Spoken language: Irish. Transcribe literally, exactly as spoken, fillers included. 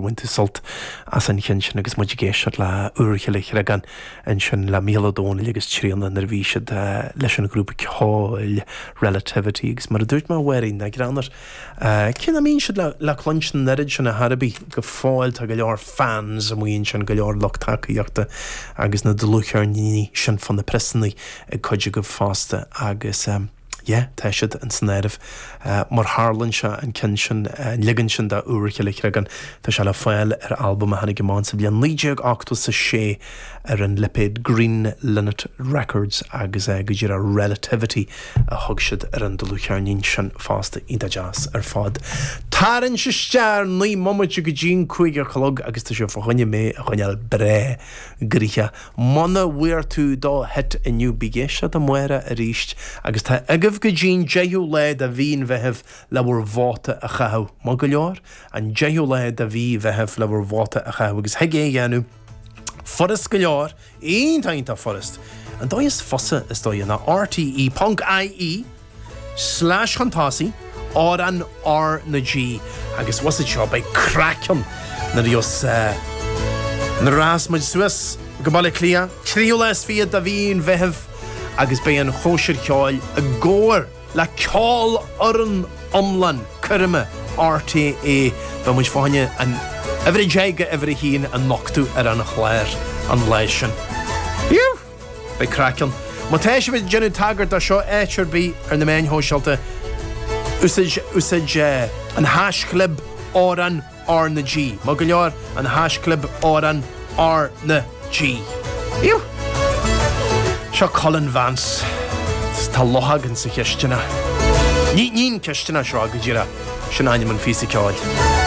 Bhain tú sult as an cheann sin agus muid ag éisteacht le Úrchill Chreagáin ansin le Mícheál Ó Domhnaill agus Tríona nuair a bhí siad leis an ghrúpa ceoil Relativity agus mar a dúirt mé a Mháirín, nach greannmhar cé nach mbíonn siad le cluinstin an oiread sin ar chor ar bith go fóill tá go leor fans amuigh ansin go leor lucht tacaíochta agus na dlúthcheirníní sin fá na priosanna ag cuid agaibh fosta agus yeah, tá siad in san áireamh mar tharlaíonn sé an ceann sin, an leagan sin de Úrchill Chreagáin, tá sé le fáil ar albam a tháinig amach sa bhliain naoi déag ochtó is a sé ar an lipéad Green Linnet Records agus go díreach Relativity a thug siad ar an dlúthcheirnín sin fosta, iontach deas ar fad. Tarraingt isteach naoi mbomaite go dtí'n cúig a chlog agus tá sé fá choinne mé a choinneáil breá gnoitheach. Muna bhfuair tú do hit inniu, bí ag éisteacht amárach arís agus tá agaibh go dtí'n deichiú lá de mhí an Mheithimh le bhur vóta a chaitheamh. Maith go leor, an deichiú lá de mhí Mheithimh le bhur vóta a chaitheamh agus thig é a dhéanamh furast go leor, iontach iontach furast. An dóigh is fusa is dóigh ná rte ponc ie slash chun tosaigh Amhrán R na G agus bhus seo beidh craic ann nuair a bheas nuair a rachas muid suas go Baile Átha Cliath, tríú lá is fiche de mhí an Mheithimh agus beidh an chóisir cheoil i gcomhar le ceolfhoireann iomlán coirme RTÉ. Beidh muid fá choinne an uimhir a deich go uimhir a haon a nochtadh ar an chlár an lá sin. Phew! Beidh craic ann. Má tá sibh ag déanamh tagairt dó seo áit ar bith ar na meáin shóisialta, úsáid úsáid an haischlib Amhrán R na G. Maith go leor, an haischlib Amhrán R na G. Phew! Seo Colin Vance. Tá luchóg in sa chisteanach. Ní ní an cisteanach seo go díreach, sin ainm an phíosa ceoil.